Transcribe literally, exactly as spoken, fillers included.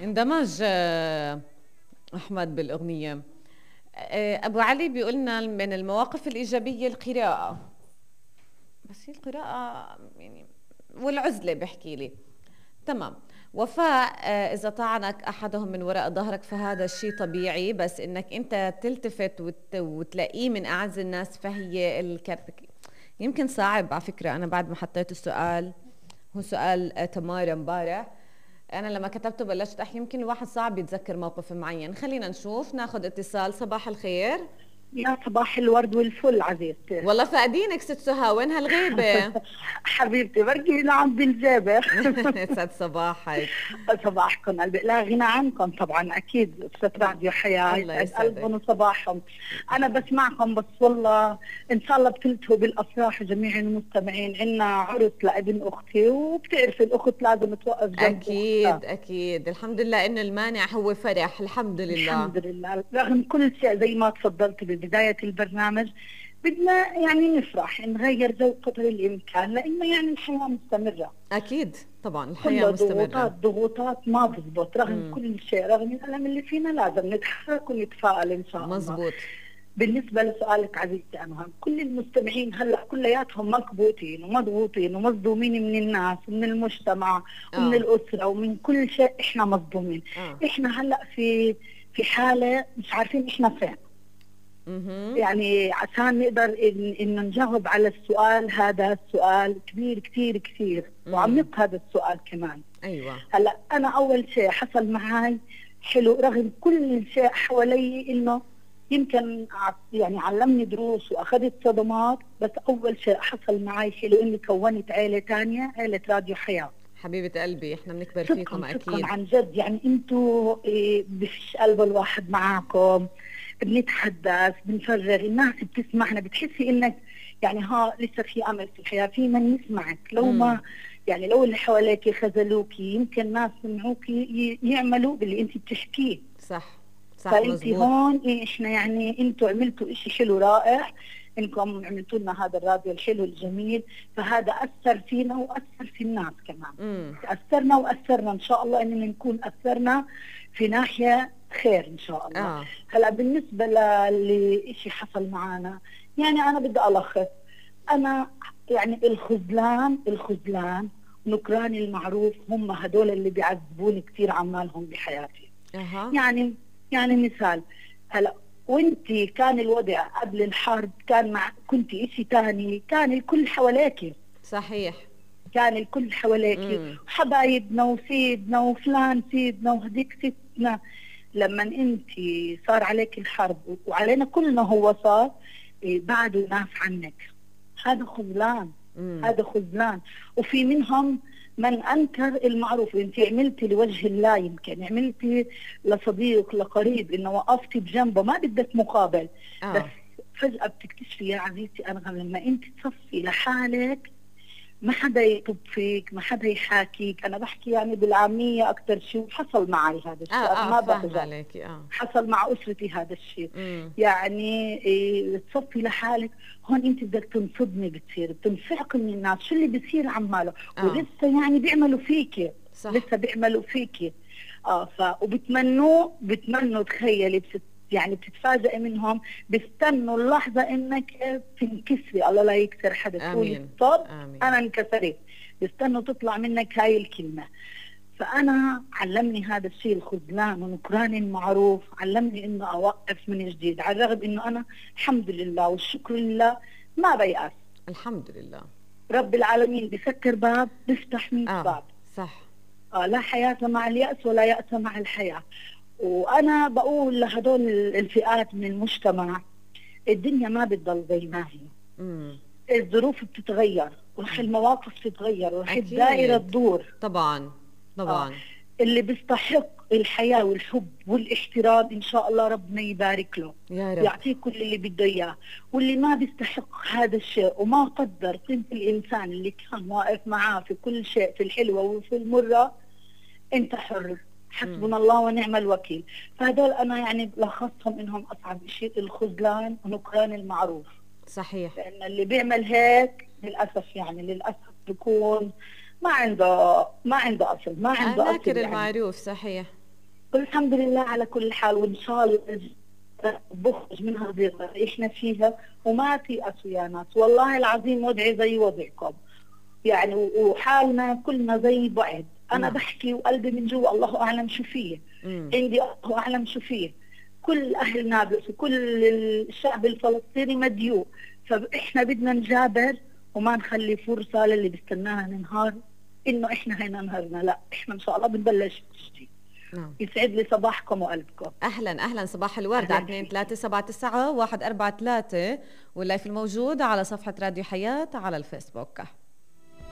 اندمج آه، أحمد بالأغنية. آه، أبو علي بيقولنا من المواقف الإيجابية القراءة، بس هي القراءة يعني والعزلة بحكي لي. تمام. وفاء، آه، إذا طعنك أحدهم من وراء ظهرك فهذا الشيء طبيعي، بس إنك أنت تلتفت وت... وتلاقيه من أعز الناس فهي الكارثة. يمكن صعب على فكرة. أنا بعد ما حطيت السؤال، هو سؤال آه، تمارا امبارح، أنا لما كتبته بلشت أحكي يمكن الواحد صعب يتذكر موقف معين. خلينا نشوف، ناخد اتصال. صباح الخير. يا صباح الورد والفل عزيزتي. والله فقدينك ست سهى، وين هالغيبة؟ حبيبتي بركي نعم بالجابة. يسعد صباحك. صباحكم قلبي، لا غنى عنكم طبعا اكيد. استاذ راديو حياة الله يسعد يسعدك. قلبهم وصباحهم. انا بسمعكم بس والله ان شاء الله بتلتهوا بالافراح جميع المستمعين. عنا عرس لابن اختي، وبتعرفي الاخت لازم توقف جنب أكيد اختها. أكيد. الحمد لله إنه المانع هو فرح. الحمد لله. الحمد لله. رغم كل شيء زي ما تفضلت ببداية البرنامج، بدنا يعني نفرح نغير جو قدر الإمكان، لأنه يعني الحياة مستمرة. أكيد طبعا الحياة كلها مستمرة. ضغوطات ضغوطات ما بزبط. رغم مم. كل شيء، رغم الألم اللي فينا، لازم نتحرك ونتفائل إن شاء الله. مزبوط. بالنسبة لسؤالك عزيزتي أنهم، كل المستمعين هلأ كلياتهم مكبوتين ومضغوطين ومصدومين من الناس ومن المجتمع ومن آه. الأسرة ومن كل شيء. إحنا مصدومين. آه. إحنا هلأ في في حالة مش عارفين إحنا فين. مهم. يعني عشان نقدر إن إنه نجاوب على السؤال هذا، السؤال كبير كثير كثير مم. وعميق هذا السؤال كمان. أيوة. هلا أنا أول شيء حصل معي حلو، رغم كل شيء حوالي إنه يمكن ع- يعني علمني دروس وأخذت صدمات، بس أول شيء حصل معي حلو إني كونت عيلة تانية، عيلة راديو حياة. حبيبة قلبي، احنا بنكبر فيكم صدقا أكيد. صدقا عن جد. يعني انتوا إيه، بفش قلب الواحد معاكم، بنتحدث بنفرغ، الناس بتسمعنا، بتحسي انك يعني ها لسه في امل في الحياه، في من يسمعك. لو مم. ما يعني لو اللي حواليك خذلوكي، يمكن ناس سمعوكي ي- يعملوا باللي انت بتحكيه. صح صح فانت مزبوط. هون إيه، احنا يعني انتوا عملتوا اشي حلو رائع، انكم عملتوا لنا هذا الراديو الحلو الجميل. فهذا اثر فينا واثر في الناس كمان. مم. اثرنا واثرنا ان شاء الله اننا نكون اثرنا في ناحيه خير ان شاء الله. آه. هلا بالنسبه لشيء حصل معنا، يعني انا بدي الخص. انا يعني الخذلان الخذلان نكران المعروف هم هدول اللي بيعذبوني كثير عمالهم بحياتي. أها. يعني يعني مثال، هلا وانتي كان الوضع قبل الحرب كان مع كنتي اشي تاني، كان الكل حواليكي، صحيح. كان الكل حواليكي مم. حبايبنا وسيدنا وفلان سيدنا وهديك ستنا. لما انتي صار عليك الحرب وعلينا كلنا هو صار إيه، بعدوا ناس عنك. هذا خذلان. مم. هذا خذلان. وفي منهم من انكر المعروف. انت عملتي لوجه الله، يمكن عملتي لصديق لقريب انه وقفتي بجنبه ما بدك مقابل. آه. بس فجأة بتكتشفي يا عزيزتي أنغم، لما انت تصفي لحالك ما حدا يطب فيك، ما حدا يحاكيك. انا بحكي يعني بالعامية اكثر شيء، وحصل معي هذا الشيء. اه انا ما اه فاهمة بكذب، عليكي. اه. حصل مع اسرتي هذا الشيء. مم. يعني إيه، تصفي لحالك هون انت بدك تنصدمي، بتصير بتنفعقي من الناس شو اللي بيصير عماله. آه. ولسه يعني بيعملوا فيكي، صح. لسه بيعملوا فيكي. اه ف وبتمنوا بتمنوا تخيلي بست يعني بتتفاجئي منهم، بيستنوا اللحظة انك تنكسري. الله لا يكسر حدا، تقولي آمين. طب آمين. انا انكسرت، بيستنوا تطلع منك هاي الكلمة. فأنا علمني هذا الشيء الخذلان ونكران المعروف، علمني إنه أوقف من جديد، على الرغم إنه أنا الحمد لله والشكر لله ما بيأس. الحمد لله. رب العالمين بسكر باب بيفتح مية اه باب. صح. آه لا حياة مع اليأس ولا يأس مع الحياة. وأنا بقول لهدول الفئات من المجتمع، الدنيا ما بتضل زي ما هي. مم. الظروف بتتغير، ورح المواقف تتغير، ورح أكيد. الدائرة تدور. طبعا طبعا. آه. اللي بيستحق الحياة والحب والاحترام إن شاء الله ربنا يبارك له، يا رب. يعطيه كل اللي بده إياه. واللي ما بيستحق هذا الشيء وما قدر قيمة الإنسان اللي كان واقف معاه في كل شيء، في الحلوة وفي المرة، أنت حر. حسبنا الله ونعم الوكيل. فهذول أنا يعني لخصهم إنهم أصعب شيء الخذلان ونكران المعروف. صحيح. لأن اللي بيعمل هيك للأسف يعني للأسف بيكون ما عنده ما عنده أصل، ما عنده ناكر أصل يعني. المعروف. صحيح. والحمد لله على كل حال، وإن شاء الله بخرج من هذه الغرة اللي إحنا فيها، وما تيأسوا يا ناس، والله العظيم وضعي زي وضعكم يعني، وحالنا كلنا زي بعض. أنا نعم. بحكي وقلبي من جوا الله أعلم شو فيه، مم. عندي الله أعلم شو فيه. كل أهل نابلس وكل الشعب الفلسطيني مديوق، فإحنا بدنا نجابر وما نخلي فرصة للي بيستنانا ننهار إنه إحنا هينا نهارنا، لا إحنا إن شاء الله بنبلش جديد. نعم. يسعد لي صباحكم وقلبكم. اهلا اهلا، صباح الورد. أهلاً على اثنين ثلاثة سبعة تسعة واحد أربعة ثلاثة، واللايف الموجود على صفحة راديو حياة على الفيسبوك.